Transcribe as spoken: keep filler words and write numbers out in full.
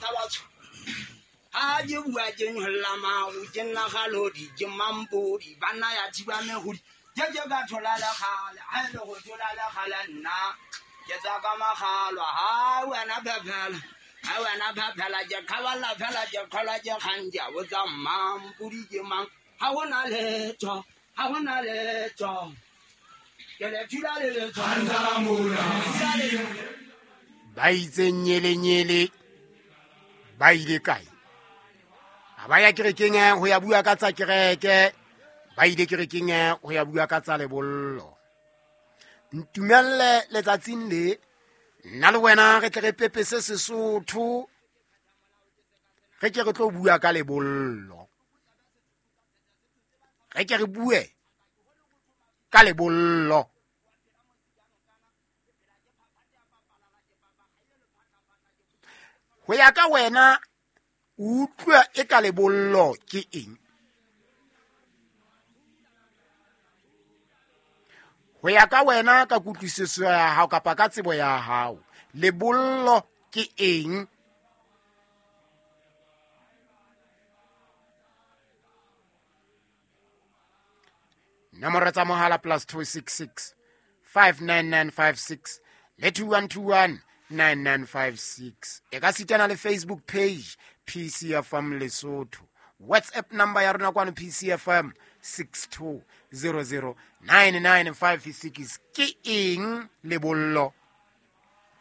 tsa batho. Ha ke bua ke nyolla maru, ke nna kgalodi, ke mampodi, banna ya thiba mehodi. Ke ke ka thola lekgale, ha e le go thola lekgale nna. Ke tswa ka makgalwa, ha wena phephela. Ha wena phephela, ke kgaballa fela, ke kgolwa ke kgang, ke a botsa mampodi ke mang. Ha hona letho, ha hona letho. Ke le thula le letho. Ba itse nyele-nyele, ba ile kae? Ha ba ya kerekeng ho ya bua ka tsa kereke, ba ile kerekeng ho ya bua ka tsa lebollo. Ntumelle letsatsing le, nna le wena re tle re pepese Sesotho, re ke re tlo bua ka lebollo. Re ke re bue ka lebollo. Ho ya ka wena, o utlwa e ka lebollo ke eng? Ho ya ka wena ka kutlwisiso ya hao kapa ka tsebo ya hao, lebollo ke eng? Nomoro tsa mohala plus two six six five nine nine five six le two one two one nine nine five six. E ka sitana le Facebook page P C F M Lesotho. WhatsApp number ya rona kwano P C F M six two zero zero nine nine five six. Ke eng lebollo?